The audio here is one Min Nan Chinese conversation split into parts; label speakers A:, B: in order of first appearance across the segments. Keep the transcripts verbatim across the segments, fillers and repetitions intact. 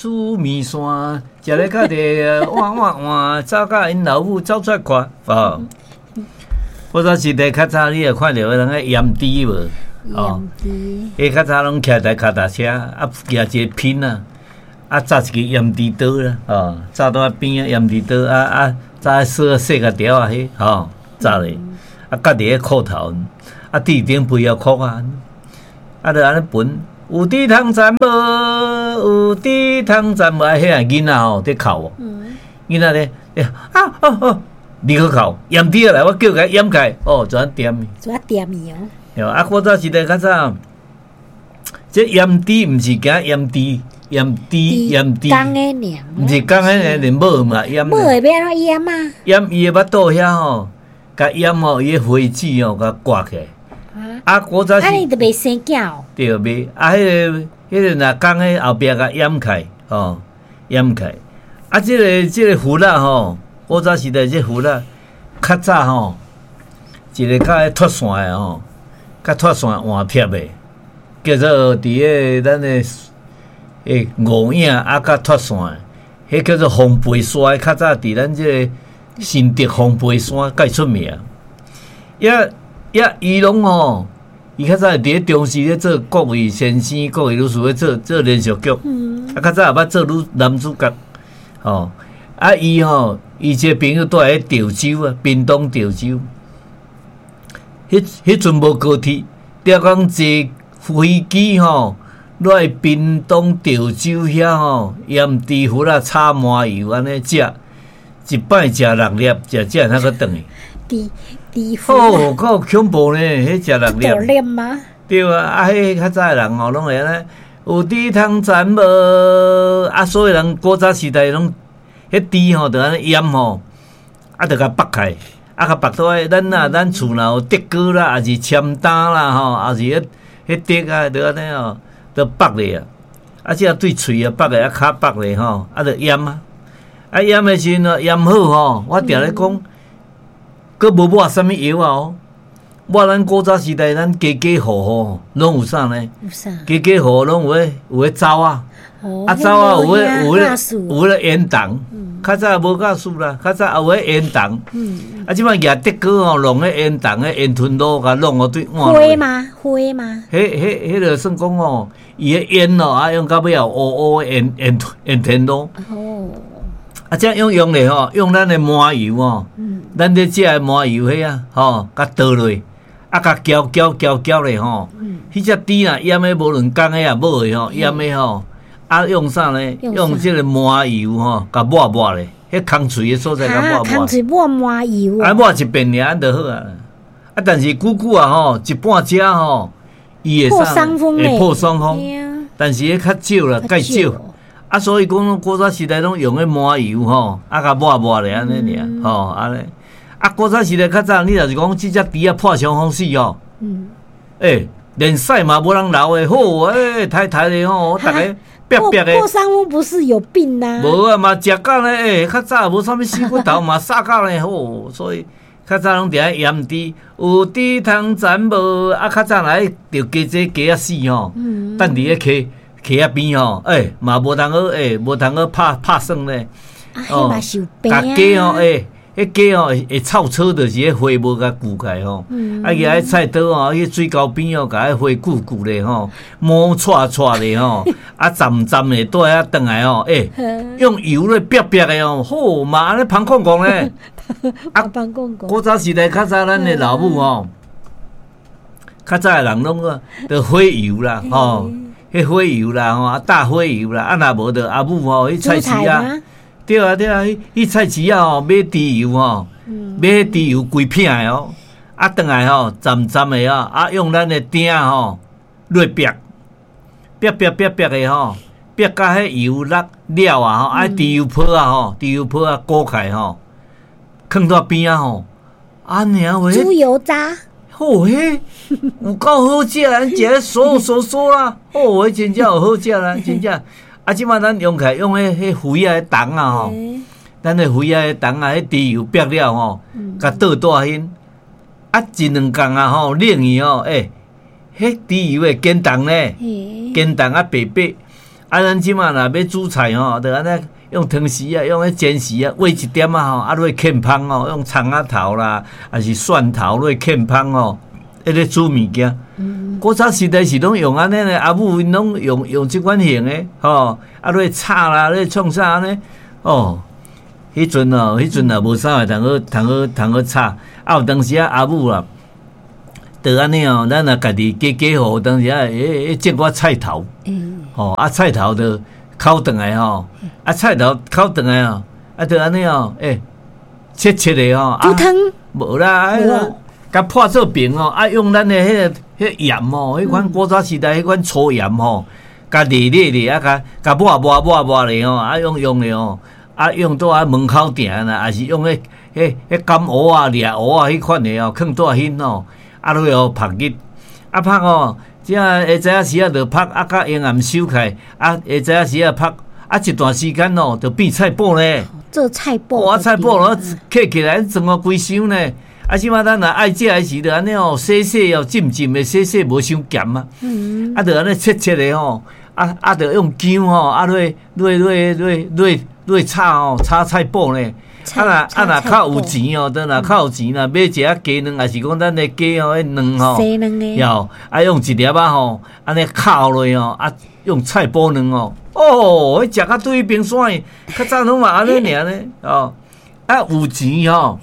A: 煮麵線，食咧較濟換換換，走甲𪜶老母走出來看，哦。古早時代較早，你會看著彼人咧閹豬無？哦，彼較早攏騎台跤踏車，啊，舉一个品啊，啊，紮一个閹豬刀啦，哦，紮佇邊仔閹豬刀，啊啊，紮細細個條仔彼，吼，紮咧，啊，結佇咧褲頭，啊，佇頂肥仔褲啊，啊，就按呢歕，有豬通斬無？有豬通斬無？啊，彼個囡仔吼佇哭，囡仔咧，啊啊啊！你去哭，閹豬仔來，我叫共閹開，哦，就按恬伊，
B: 就按恬伊哦。
A: 對啊，古早時代較早，這閹豬毋是驚閹豬，閹豬閹豬，
B: 公的爾，
A: 毋是公的爾，連母的嘛閹。
B: 母的欲按怎閹啊？
A: 閹伊的腹肚遐吼，共閹吼，伊的花籽吼，共割起來。啊，古早是。
B: 按呢就袂生囝哦。
A: 對，袂啊，彼个彼个若公的後壁共閹開，吼，閹開。啊，這个這个糞仔吼，古早時代這糞仔較早吼，一个較愛脫線的吼，較脫線換貼的，叫做佇个咱的欸五嶺啊，較脫線的，彼叫做風背山。較早佇咱這个新竹風背山蓋出名。也也伊攏吼，伊較早佇咧中視咧做國語先生、國語老師咧做做連續劇，啊，較早也捌做女男主角，吼。啊，伊吼，伊一個朋友蹛佇潮州啊，屏東潮州。彼彼陣無高鐵，逐工坐飛機吼，落來屏東潮州遐吼，閹豬糞仔炒麻油按呢食，一擺食六粒，食食才閣轉去。
B: 豬豬
A: 哦，夠恐怖呢！彼食六粒。
B: 大粒嗎？
A: 對啊，啊，彼較早的人吼，攏會按呢，有豬通斬無？啊，所以人古早時代攏，彼豬吼，就按呢閹吼，啊，就共縛開，啊，共縛倒來，咱啊，咱厝若有竹篙啦，抑是籤擔啦，吼，抑是彼彼竹啊，就按呢吼，就縛咧啊，啊，這對喙啊縛咧，啊，跤縛咧吼，啊，就閹啊，啊，閹的時陣閹好吼，我定咧講，閣無抹啥物藥啊哦，抹咱古早時代，咱家家戶戶攏有啥呢？
B: 有啥？
A: 家家戶戶攏有彼有彼灶仔，啊，灶仔有彼有彼有彼煙筒，較早無瓦斯啦，較早有彼煙筒。啊，這擺舉竹篙吼，弄彼煙筒，彼煙吞爐，共弄予對換。
B: 火嗎？火嗎？
A: 彼彼彼个算講吼，伊的煙哦，啊用到尾後烏烏煙煙煙天爐。
B: 哦。
A: 啊，這樣用咧吼，用咱的麻油吼，咱咧食的麻油彼啊，吼，共倒落，啊，共攪攪攪攪咧吼，彼隻豬若閹的，無論公的抑母的吼，閹的吼，啊，用啥呢？用這个麻油吼，共抹抹咧，彼空喙的所在共抹抹。
B: 空喙抹麻油。
A: 啊，抹一遍爾，按就好啊。啊，但是久久啊吼，一半食吼，伊會啥？會破傷風。但是彼較少啦，較少。啊，所以講古早時代攏用彼麻油吼，啊，共抹抹咧按呢爾，吼，按呢。啊，古早時代較早，你若是講這隻豬仔破傷風死吼，欸，連屎嘛無人留的，好，欸，刣刣的吼，逐个煏煏的。
B: 破傷風不是有病吶？
A: 無啊嘛，食甲咧，欸，較早無啥物死骨頭嘛，殺甲咧好，所以較早攏佇遐閹豬，有豬通斬無？啊，較早來著雞仔雞仔死吼，等佇咧溪溪仔邊吼，欸，嘛無通好，欸，無通好拍拍耍咧。
B: 哦，
A: 共雞吼，欸，彼雞吼會會臭草，就是彼花無共鋸開吼。啊，舉彼菜刀吼，去水溝邊吼，共彼花鋸鋸咧吼，毛掣掣咧吼，啊，浸浸的蹛遐轉來吼，欸，用油咧煏煏的哦，好嘛，按呢芳炕炕咧。
B: 啊，芳炕炕。
A: 古早時代較早咱的老母吼，較早的人攏個著火油啦，吼，彼火油啦，吼，啊，大火油啦，啊，若無著阿母吼去菜市仔。對啊對啊，去菜市仔吼買豬油吼，買豬油規片的哦，啊，轉來吼浸浸的哦，啊，用咱的鼎吼落煏，煏煏煏煏的吼，煏甲彼油落了啊吼，啊，豬油泡仔吼，豬油泡仔裹開吼，囥佇邊仔吼，按呢話。
B: 豬油渣。
A: 吼，彼有夠好食，咱食咧酥酥酥啦，吼，彼真正有好食啦，真正。啊，這擺咱用起來用彼彼肥仔筒仔吼，咱的肥仔筒仔，彼豬油煏了吼，共倒蹛彼，啊，一兩工啊吼，冷去吼，欸，彼豬油會堅凍咧，堅凍啊白白，啊，咱這馬若欲煮菜吼，就按呢用湯匙啊，用彼煎匙啊，挖一點仔吼，啊落劵芳吼，用蔥仔頭啦，抑是蒜頭落劵芳吼，彼咧煮物件。古早時代是攏用按呢呢，阿母𪜶攏用用這款型的吼，啊落炒啦，咧創啥按呢？哦，彼陣哦，彼陣也無啥會通好通好通好炒，啊有當時啊阿母啊，就按呢哦，咱若家己加加好，當時啊，彼彼種寡菜頭，吼啊菜頭就烤轉來吼，啊菜頭烤轉來哦，啊就按呢哦，欸切切的吼，
B: 煮湯
A: 無啦，共破做平哦，啊用咱的彼个彼鹽哦，彼款古早時代彼款粗鹽吼，共煉煉咧，啊共共抹抹抹抹咧吼，啊用用的吼，啊用佇啊門口埕啦，抑是用彼彼彼甘蚵仔、掠蚵仔彼款的哦，囥佇彼吼，啊落予曝日，啊曝吼，這下早時仔就曝，啊較陰暗收起來，啊下早時仔曝，啊一段時間哦，就變菜脯咧。
B: 做菜脯。
A: 哇，菜脯咯，揢起來裝予規箱呢。啊，這馬咱若愛食的時，就按呢哦，洗洗哦，浸浸的洗洗，無傷鹹啊。啊，就按呢切切的吼，啊啊，就用薑吼，啊落落落落落落炒吼，炒菜脯呢。啊若啊若較有錢哦，等若較有錢啦，買一仔雞卵，抑是講咱的雞吼，彼卵吼，著啊用一粒仔吼，按呢敲落吼，啊用菜脯卵哦，哦，彼食甲對冰山去，較早攏嘛按呢爾呢，哦，啊有錢吼。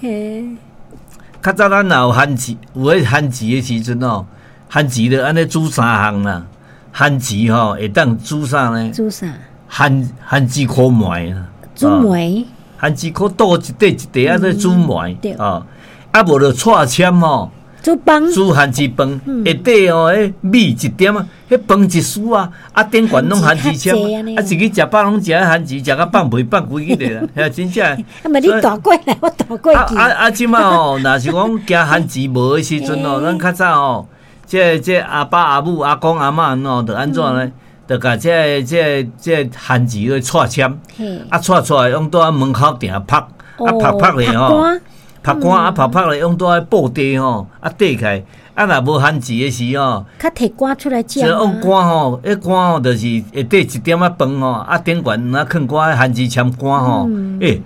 A: 較早咱若有番薯，有彼番薯的時陣哦，番薯就按呢煮三項啦。番薯吼會當煮啥呢？
B: 煮啥？
A: 番番薯箍糜啦。
B: 煮糜。
A: 番薯箍倒一塊一塊按呢煮糜。哦，啊無就蔡籤吼。
B: 煮飯。
A: 煮番薯飯，下底哦，彼米一點仔，彼飯一匙啊，啊頂懸攏番薯籤，啊一日食飽攏食彼番薯，食甲放屁放規日的啦，遐真正。
B: 啊，毋你大過來，我大過去。
A: 啊啊啊！這馬吼，若是講驚番薯無的時陣哦，咱較早吼，這這阿爸阿母阿公阿嬤吼，就按怎呢？就共這个這个這个番薯去蔡籤，啊蔡出來用佇門口埕曝，啊曝曝咧吼。曝乾啊，曝曝咧，用佇布袋吼，啊袋起來，啊若無番薯的時吼，
B: 較提乾出來食。
A: 用乾吼，彼乾吼就是下底一點仔飯吼，啊頂懸啊囥寡番薯籤乾吼，欸，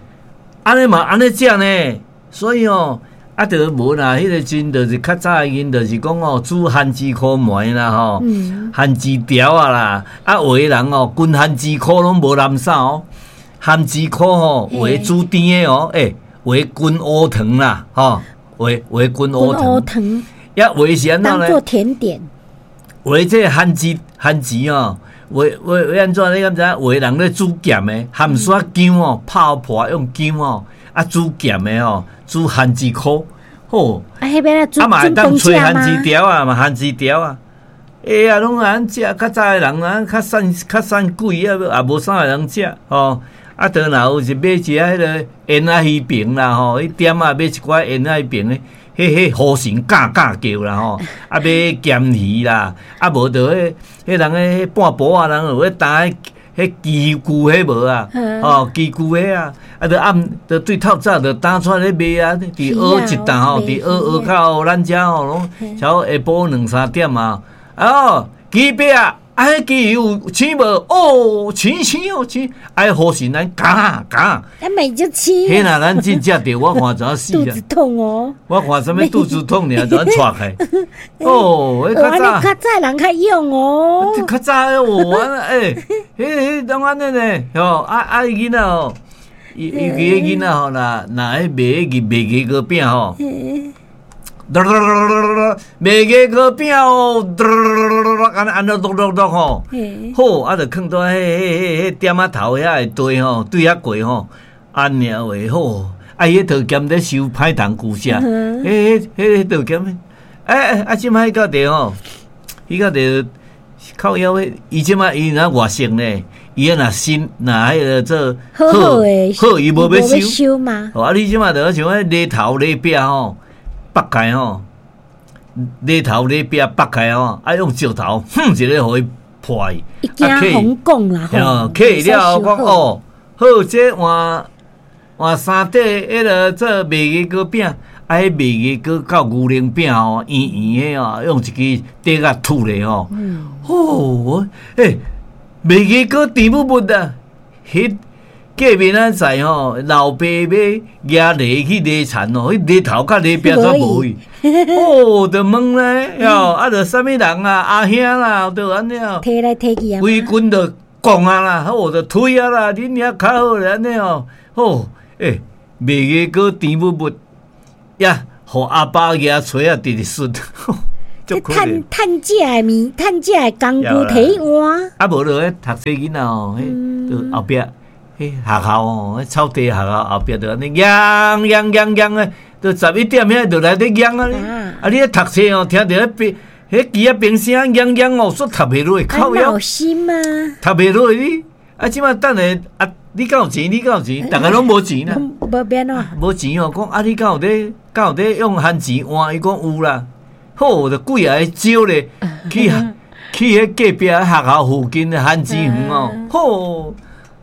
A: 按呢嘛按呢食呢，所以吼，啊就無啦，彼个陣就是較早的𪜶就是講吼，煮番薯箍糜啦吼，番薯條仔啦，啊有的人哦，規番薯箍攏無垃圾哦，番薯箍吼，有的煮甜的哦，欸。有的滾烏糖啦，吼，有的有的滾烏
B: 糖，
A: 抑有的是按怎呢？
B: 當做甜點。
A: 有的這个番薯番薯哦，有有有按怎你敢知影？有的人咧煮鹹的，鹹沙薑哦，泡破用薑哦，啊煮鹹的吼，煮番薯箍，吼。
B: 啊，彼邊
A: 啊嘛會當炊番薯條啊，嘛番薯條啊。哎呀，攏按食，較早的人啊，較散較散鬼啊，也無啥會通食吼。啊，當若有是買一下彼个煙仔魚爿啦吼，彼店仔買一寡煙仔魚爿，彼彼雨神嘎嘎叫啦吼，啊買鹹魚啦，啊無就彼彼人彼半晡仔人有彼擔彼雞菇彼無啊，吼雞菇彼啊，啊就暗就對透早就擔出來咧賣啊，佇蚵一擔吼，佇蚵蚵口咱遮吼攏差不多下晡兩三點啊，哦雞白啊。啊！彼雞有青無？哦，青青哦，青！啊，雨神咱咬咬。
B: 啊，咪就青。
A: 彼若咱真食著，我看怎死啊？
B: 肚子痛哦。
A: 我看啥物肚子痛爾，怎掣開？哦，彼較早。
B: 較早人較勇哦。
A: 較早哦，欸，彼彼攏按呢呢，吼啊啊！囡仔吼，尤其彼囡仔吼，若若彼賣彼賣月糕餅吼。賣月糕餅哦，按呢按呢剁剁剁吼，好啊，就囥佇彼彼彼店仔頭遐會堆吼，對遐過吼，按呢話好，啊，彼桃鹹咧收歹糖舊食，彼彼彼桃鹹，欸欸啊，這擺彼到底吼，彼到底靠腰彼，伊這擺伊若外省呢，伊若新若彼个做
B: 好好的，
A: 好伊無欲
B: 收嘛，
A: 啊，你這擺就像彼犁頭犁壁吼。剝開吼，犁頭犁壁剝開吼，啊用石頭哼一个予伊破去，
B: 伊驚風講啦
A: 吼，起了後講哦，好，這換換三塊彼个做麥芽糕餅，啊，彼麥芽糕到牛奶餅吼，圓圓的哦，用一支短仔吐咧吼，哦，欸，麥芽膏甜物物啊！彼隔壁咱在吼，老爸欲舉犁去犁田哦，彼犁頭佮犁壁煞無去。哦，就問咧，喲，啊，著啥物人啊，阿兄啦，就按呢哦，
B: 提來提去啊，
A: 規群就講啊啦，好就推啊啦，恁遐較好咧，按呢哦，好，欸，麥芽膏甜物物，呀，予阿爸舉錘仔直直摔。
B: 這趁趁食的物，趁食的工具提換。
A: 啊，無就彼讀冊囡仔哦，彼就後壁，彼學校哦，彼草地學校後壁就按呢，嚷嚷嚷嚷的，就十一點遐就來咧嚷啊！啊，你咧讀冊哦，聽著彼邊彼機仔兵聲嚷嚷哦，煞讀袂落，靠腰。
B: 有心啊！
A: 讀袂落你，啊，這擺等下啊，你敢有錢？你敢有錢？逐个攏無錢啦。
B: 無變喏。
A: 無錢哦，講啊，你敢有咧？敢有咧用番錢換？伊講有啦。好，就幾仔个招咧，去去彼隔壁學校附近的番薯園哦，好，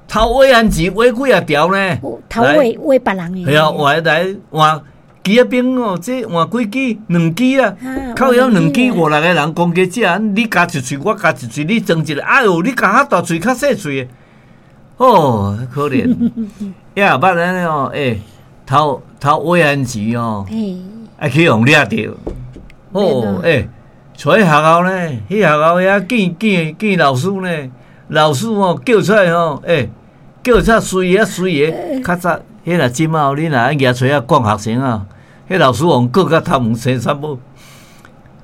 A: 偷挖番薯挖幾仔條呢？
B: 偷挖挖別人的。
A: 係啊，換來換枝仔冰哦，這換幾支？兩支啊，靠腰兩支五六个人共加食，你咬一喙，我咬一喙，你裝一个，哎喲，你咬較大喙，較細喙的，哦，可憐。也捌按呢哦，欸，偷偷挖番薯哦，啊去予掠著。哦，欸，佇學校呢，彼學校遐見見見老師呢，老師哦叫出來吼，欸，叫出來隨個隨個，較早彼若這馬你若愛舉錘仔管學生啊，彼老師予告甲頭毛生啥某。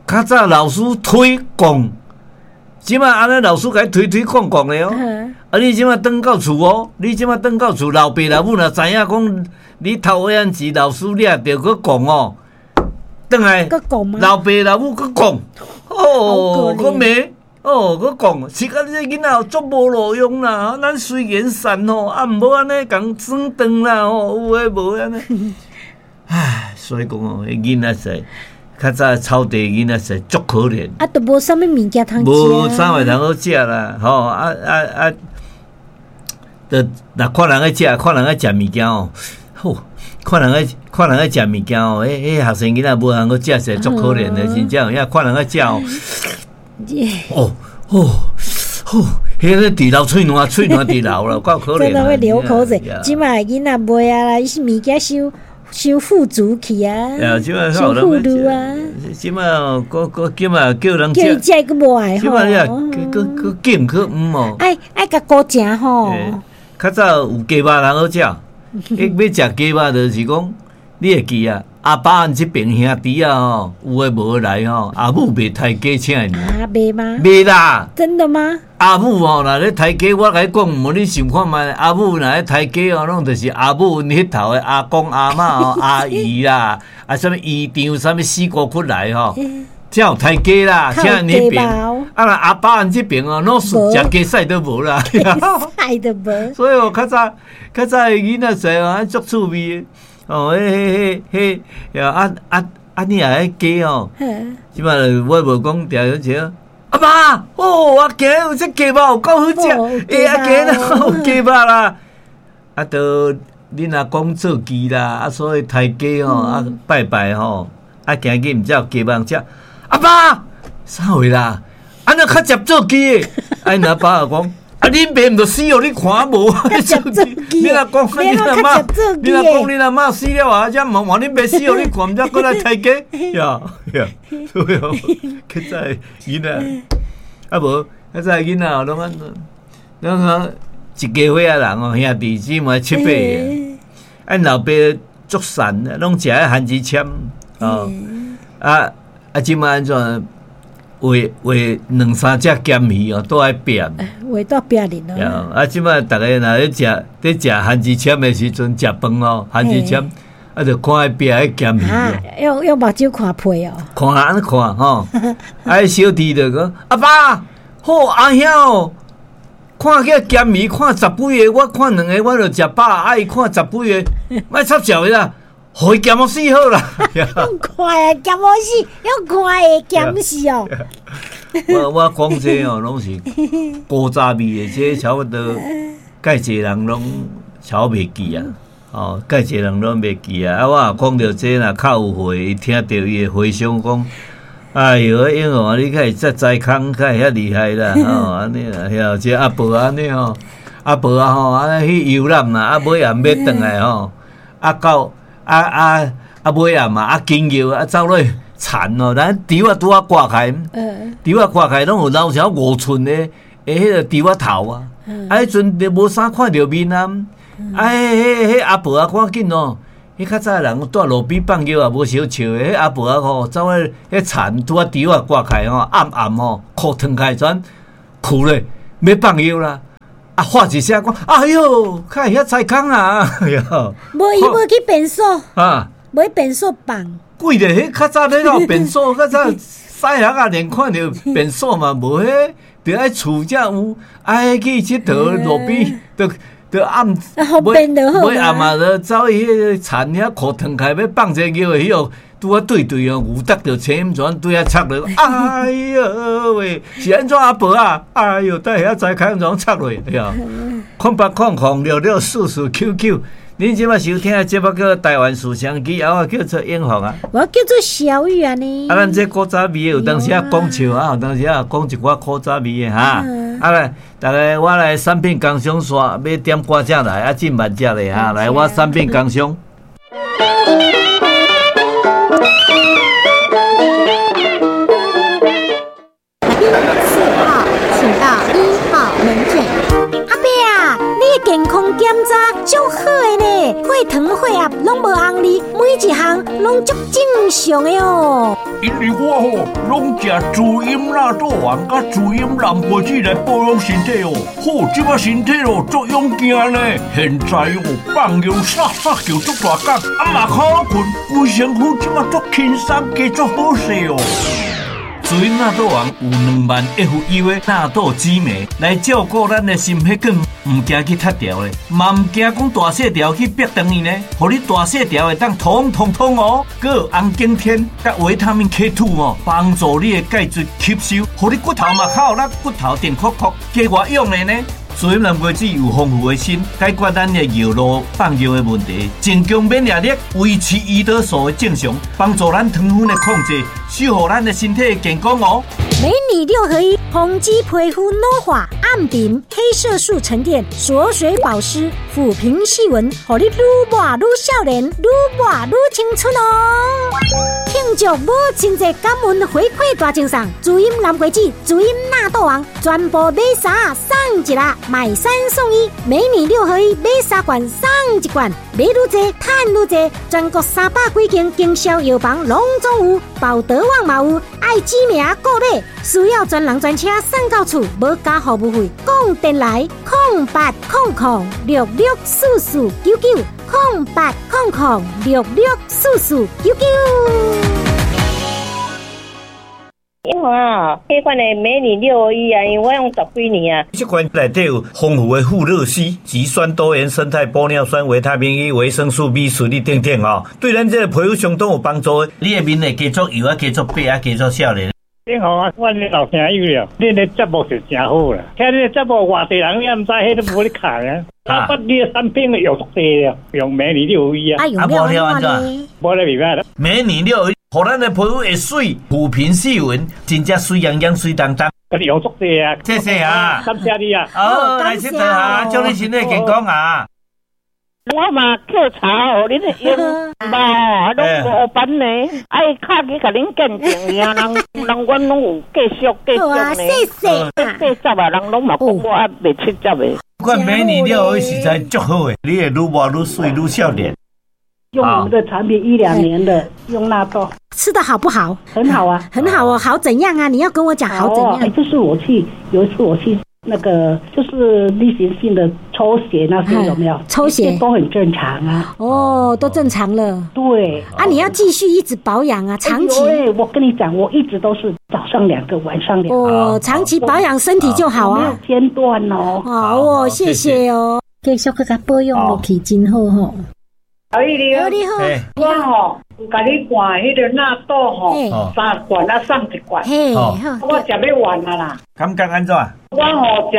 A: 較早老師推講，這馬按呢老師共你推推講講的哦。啊，你這馬轉到厝哦，你這馬轉到厝，老爸老母若知影講你偷挖番薯，老師掠著閣講哦。轉來，老爸老母閣講，哦，閣罵，哦，閣講，是講這囡仔足無路用啦，咱雖然善吼，啊，毋好按呢共耍長啦吼，有的無的按呢。唉，所以講哦，彼囡仔說，較早草地囡仔說足可憐。
B: 啊，都無啥物物件通食。
A: 無啥物通好食啦，吼啊啊啊！就若看人咧食，看人咧食物件哦，吼。看人咧，看人咧食物件哦，彼彼學生囡仔無通好食，是足可憐的，真正有影看人咧食哦。哦哦哦，彼个直流喙瀾，喙瀾直流啦，夠可憐。
B: 真的會流口水。這馬囡仔袂啊啦，伊是物件傷傷富足去啊，傷富裕啊。
A: 這馬閣閣這馬叫人
B: 叫伊食閣無愛
A: 吼。這馬你啊，閣閣揀閣毋哦。
B: 愛愛共顧食吼。
A: 較早有雞肉通好食。伊欲食雞肉，就是講你會記啊？阿爸𪜶這爿兄弟仔吼，有的無的來吼，阿母袂刣雞請𪜶。
B: 啊，袂嗎？
A: 袂啦。
B: 真的嗎？
A: 阿母吼，若咧刣雞，我共你講，無你想看覓？阿母若咧刣雞哦，攏就是阿母𪜶彼頭的阿公阿嬤哦、阿姨啦，啊，啥物姨丈、啥物死姑骨來吼，才有刣雞啦，請𪜶彼爿。啊，若阿爸𪜶這爿哦，攏是食雞屎都無啦。
B: 屎都無。
A: 所以哦，較早較早的囡仔時哦，足趣味的。哦，彼彼彼彼，啊啊啊！你若彼雞哦，這擺我無講定定阿爸，哦，啊今有這雞肉有夠好食，欸，啊今仔有雞肉啦。啊，都恁阿公做雞啦，啊，所以刣雞吼，啊拜拜吼，啊今日毋才有雞肉食。阿爸，啥貨啦？按呢較捷做雞的？啊，𪜶阿爸就講。啊！恁爸毋就死予你看無？你若講你阿嬤，你若講恁阿嬤死了啊，才問話恁爸死予你看，毋才閣來刣雞？呀呀，所以哦，較早囡仔，啊無，較早囡仔攏按怎，攏按一家伙仔人哦，兄弟姊妹七八個，啊，𪜶老爸足善，攏食彼番薯籤哦，啊啊，這擺按怎？畫畫兩三隻鹹魚哦，都愛拼。
B: 畫到拼哩咯。
A: 啊，這擺逐个若咧食，咧食番薯籤的時陣，食飯哦，番薯籤，啊，就看彼壁彼鹹魚。
B: 用用目睭看皮哦。
A: 看按呢看吼，啊，小弟就講：阿爸，好阿兄哦，看彼鹹魚看十幾个，我看兩个我就食飽，啊，伊看十幾个，莫插潲伊啦。予伊鹹予死好啦！
B: 用看的鹹予死，用看的鹹死哦。
A: 我我講這哦，攏是古早味的，這差不多蓋濟人攏差袂記啊。哦，蓋濟人攏袂記啊。啊，我若講著這若較有回，伊聽著伊會回想講，哎喲，英雄啊，你較會遮知空，較會遐厲害啦，吼，按呢啦，遐這阿婆按呢吼，阿婆啊吼，啊去遊覽啦，啊尾暗欲轉來吼，啊到啊啊啊尾暗嘛，啊緊尿啊走落去田哦，咱稻仔拄仔割開，稻仔割開攏有留小五寸的，的彼個稻仔頭啊，啊彼陣就無啥看著面啊，啊彼彼彼阿婆啊趕緊哦。彼較早人蹛路邊放尿也無相笑的，彼阿婆仔吼走去彼田拄仔稻仔割開吼，暗暗吼褲脫開轉褲咧，欲放尿啦！啊，喊一聲講，哎喲，較會遐知空啊！哎喲，
B: 無伊無去便所
A: 啊，
B: 無去便所放。
A: 鬼咧，彼較早咧有便所，較早細漢仔連看著便所嘛無彼，著愛厝才有，愛去𨑨迌路邊，著。就暗，尾暗嘛，就走去彼个田遐褲脫開，欲放一个尿的，彼個拄仔對對哦，牛搭著青怎對遐插落，哎喲喂，是按怎阿婆啊？哎喲，佇遐知空怎插落？哎呀，空八空空六六四四九九，恁這擺收聽的節目叫台灣思想機，啊，我叫做永福啊，
B: 我叫做小雨啊呢。
A: 啊，咱這古早味的有當時啊講笑啊，有當時啊講一寡古早味的哈。啊來，逐家我來產品工商煞，欲點歌才來，啊進慢才咧哈。來，我產品工商。
B: 四號，請到一號門診。阿伯啊，你的健康檢查足好的呢，血糖、血壓攏無紅字，每一項攏足正常的哦。
C: 因為我吼攏食滋飲納豆丸佮滋飲藍果子來保養身體哦，好，這擺身體哦足勇健呢。現在哦放尿颯颯叫足大工，啊嘛較好睏，規身軀這擺足輕鬆，加足好勢哦。滋飲納豆丸有兩萬 F U 的納豆酯酶來照顧咱的心血管，毋驚去塌掉的，嘛毋驚講大細條去逼斷伊呢，予你大細條會當通通通哦。閣有紅景天佮維他命 K 二哦，幫助你的鈣質吸收，予你骨頭嘛較有力，骨頭定酷酷，加外用的呢。滋飲藍果子有豐富的鋅，解決咱的尿路放尿的問題，增強免疫力，維持胰島素的正常，幫助咱糖分的控制，守護咱的身體的健康哦。
B: 美女六合一，宏肌皮膚老化、暗沉、黑色素沉澱、鎖水保濕、撫平細紋，予你愈抹愈少年，愈抹愈青春哦！慶祝母親節感恩回饋大贈送，滋飲藍果子、滋飲納豆王，全部買三送一啦，買三送一，美女六合一買三罐送一罐，買愈濟趁愈濟，全國三百幾間經銷藥房攏總有，寶德旺嘛有，愛指名購買。需要專人專車送到厝，無加服務費。講電來空八空空六六四四九九空八空空六六四四九九。
D: 因為啊，這款的美女六一啊，因為我用十幾年啊。
A: 這款內底有豐富的富勒烯、植酸多元生態玻尿酸、維他命 E、維生素 B 群等等哦，對咱這個皮膚相當有幫助。你的面會加足油啊，加足白啊，加足少年。
E: 你好啊，我的老朋友了，恁的節目是真好啦。聽恁的節目，外地人也毋知，彼都無咧看啊。啊，你的產品用足濟了，用美女六一啊。
A: 啊，無了按怎？
E: 無咧袂歹啦。
A: 美女六一，予咱的皮膚會媠，撫平細紋，真正媠洋洋、媠當當。
E: 佮你用足濟啊！
A: 謝謝啊，
E: 感謝你啊。
A: 好，來佚佗啊，祝你身體健康啊。
D: 我嘛叫查予恁的用吧，攏無班呢，愛敲去共恁見證啊，人人阮攏有繼續繼續呢。
B: 謝謝。
D: 八十啊，人攏嘛講我還袂七十的。
A: 款美女六一實在足好的，你會愈活愈媠愈少年。
F: 用我們的產品一兩年的，用納豆
B: 吃得好不好？
F: 很好啊，
B: 很好哦，好怎樣啊？你要跟我講好怎樣？
F: 這是我去有一次我去那個就是例行性的抽血那些有沒有？
B: 抽血
F: 都很正常啊。
B: 哦，都正常了。
F: 對
B: 啊，你要繼續一直保養啊，長期。
F: 對，我跟你講，我一直都是早上兩個，晚上兩個。
B: 哦，長期保養身體就好啊。
F: 沒有間斷哦。
B: 好哦，謝謝哦。繼續閣共保養落去，真好吼。
G: 小玉你
B: 好，你好，
G: 我吼有共你換彼個納豆吼，三罐啊送一罐，我食欲完啊啦。
A: 感覺按怎？
G: 我吼食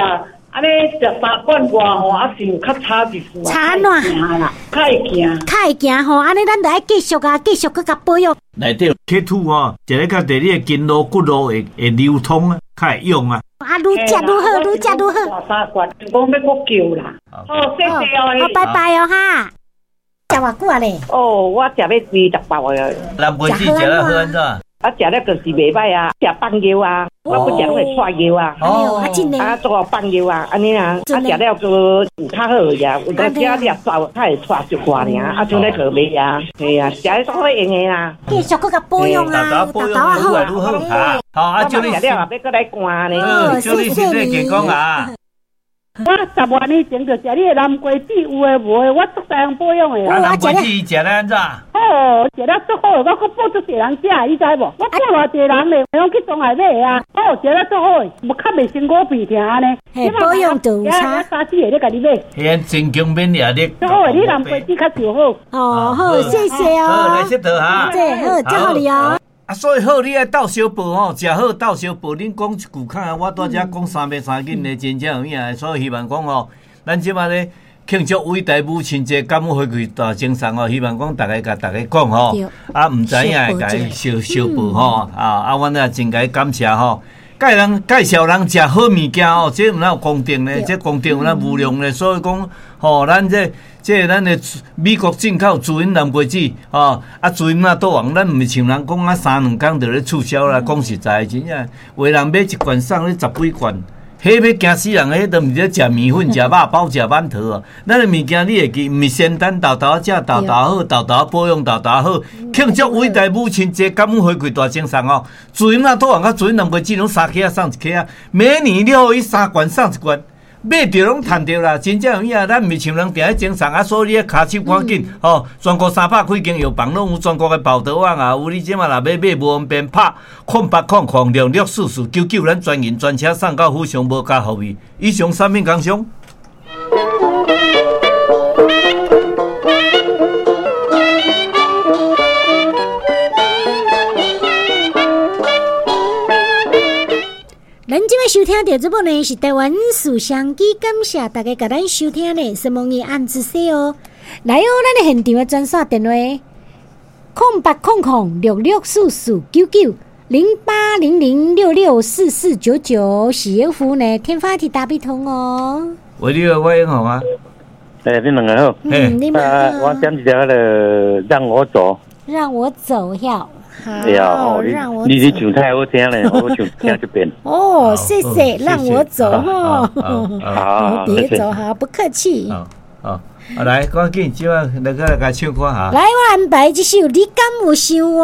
G: 按呢食三罐外吼，啊是有較差一絲
B: 差按怎
G: 啦？較會行，
B: 較會行吼，按呢咱著愛繼續啊，繼續閣共保養。
A: 內底鐵土吼，一个較佇你的筋路骨路會會流通啊，較會用啊。
B: 啊，愈食愈好，愈食愈好。
G: 三罐，就講欲閣叫啦。好，謝謝哦。
B: 好，拜拜哦哈。食偌久啊咧？
D: 哦，我食欲二十包啊。
A: 南瓜子食了好按怎？
D: 啊，食了就是袂歹啊，食放尿啊，我不食攏會掣尿啊。
B: 哦，啊真的。
D: 啊，做放尿啊，按呢啊，啊食了閣有較好呀，有當時掠走，較會掣一寡爾，啊，像咧個袂啊，係啊，食咧足好用的啦。
B: 繼續閣共保養啊，
A: 保養愈來愈好啊。好，啊，祝你
D: 食了也欲閣來灌呢。
A: 好，祝你身體健康啊。
F: 我十外年前就食你的南瓜子，有的無的，我足濟人保養的
A: 啊。南瓜子食咧按怎？
F: 哦，食了足好，我閣補足濟人食，你知無？我補偌濟人咧，攏去中海買的啊。哦，食了足好，無較袂辛苦鼻疼按呢。
B: 保養就有差。
F: 三四個咧共你買。
A: 彼增強免疫力。
F: 足好，你南瓜子較上好。
B: 哦，好，謝謝哦。
A: 好，來佚佗哈。
B: 這好，祝福你哦。
A: 啊，所以好，你愛鬥相報吼，食好鬥相報。恁講一句較，我拄才講三遍三緊的，真正有影。所以希望講吼，咱這擺咧慶祝偉大母親節，感恩回饋大精神吼，希望講逐家共逐家講吼，啊，毋知影會共伊相相報吼，啊啊，阮也真共感謝吼。介人介紹人食好物件吼，這毋哪有公定咧？這公定有哪無量咧？所以講吼，咱這這咱的美國進口滋陰南瓜子吼，啊滋陰納豆王，咱毋是像人講啊三兩工就咧促銷啦。講實在，真正有的人買一罐送你十幾罐。彼欲驚死人！彼都毋是咧食麵粉、食肉包、食饅頭哦。咱的物件你會記，毋是仙丹沓沓食，沓沓好，沓沓保養，沓沓好。慶祝偉大母親節，感恩回饋大精神哦。滋陰納豆王佮滋陰南瓜子攏三克仔送一克仔，每年你予伊三罐送一罐，買著攏趁著啦。真正有影，咱毋是像人定咧精神啊，所以你跤手趕緊吼。全國三百幾間藥房攏有，全國的報道網也有。你這馬若欲買無方便，拍空八空空六六四四九九，咱專人專車送到府上，無加服務。以上產品工商。
B: 咱這擺收聽著這部呢是台灣事商機，感謝大家共咱收聽呢，是問伊按姿勢哦。來哦，咱的現場的專線電話：空八空空六六四四九九零八零零六六四四九九，是服務呢，天發提打比通哦。
A: 喂，你好，我英雄啊。
H: 欸，你兩個好。
B: 嗯，你們好。
H: 我點一條彼个讓我走。
B: 讓我走呀。
H: 好，讓我你你唱太好聽咧，我唱聽這邊。
B: 哦，謝謝，讓我走哈。
H: 好，
B: 別走哈，不客氣。
A: 好，好，來，趕緊，這擺來個來共唱歌哈。
B: 來，我安排這首《你敢有想我》。